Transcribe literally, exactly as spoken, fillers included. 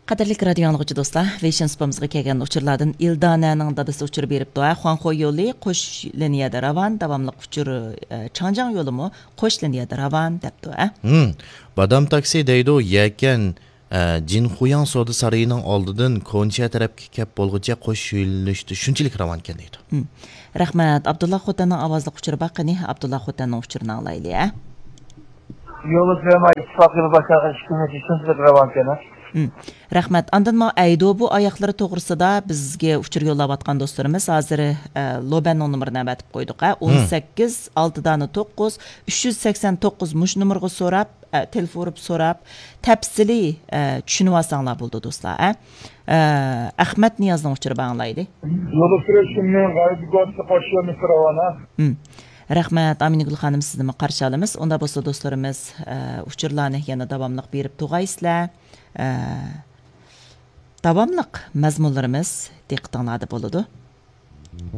قەدىرلىك رادىيو ئاڭلىغۇچى دوستلار، ۋېيشىن سۇپىمىزغا كەلگەن ئۇچۇرلاردىن ئىلدانەنىڭ دادىسى ئۇچۇر بېرىپتۇ. ھە، خۇاڭخو يولى قوش لىنىيەدە راۋان، داۋاملىق ئۇچۇر، ئە، چاڭجياڭ يولىمۇ قوش لىنىيەدە راۋان دەپتۇ. ھە. ھىم، بادام تاكسى دەيدۇ، يەكەن، ئە، جىنخۇياڭ سودا سارىيىنىڭ ئالدىدىن كونچيا تەرەپكە كەپ بولغۇچە قوش يۆنىلىشتە شۇنچىلىك راۋان ئىكەن دەيدۇ. ھىم. رەھمەت. ئابدۇللا خوتەننىڭ ئاۋازلىق ئۇچۇرى بار، قېنى ئابدۇللا خوتەننىڭ ئۇچۇرىنى ئاڭلايلى. ھە. يولى سۈلەيمان ئىتتىپاق يولى باشلانغان ئىككى كۈن ئىچىدە شۇنچىلىك راۋان ئىكەن. ھىم. رەھمەت. ئاندىن ماۋۇ ئەيدو بۇ ئاياقلىرى توغرىسىدا بىزگە ئۇچۇر يوللاۋاتقان دوستلىرىمىز ھازىر، ئە، لوبەننىڭ نومۇرىنى ئەۋەتىپ قويدۇق، ھە. ھىم. ئون سەككىز، ئالتە دانە توققۇز، ئۈچ يۈز سەكسەن توققۇز مۇشۇ نومۇرغا سوراپ، ئە، تېلېفون ئۇرۇپ سوراپ، تەپسىلىي، ئە، چۈشىنىۋالساڭلار بولىدۇ دوستلار، ھە. ئە، ئەخمەت نىيازنىڭ ئۇچۇرى بار، ئاڭلايلى. يولى سۈرۈشۈمنى غەيبىگۆسى قوشۇۋەرمىسى راۋان، ھە. ھىم. رەھمەت، ئامىنىگۈل خانىم، سىزنىمۇ قارشى ئالىمىز. ئۇندا بولسا دوستلىرىمىز، ئە، ئۇچۇرلارنى يەنە داۋاملىق بېرىپ تۇغايسىلەر. ئە، داۋاملىق مەزمۇنلىرىمىز دىققىتىڭلاردا بولىدۇ.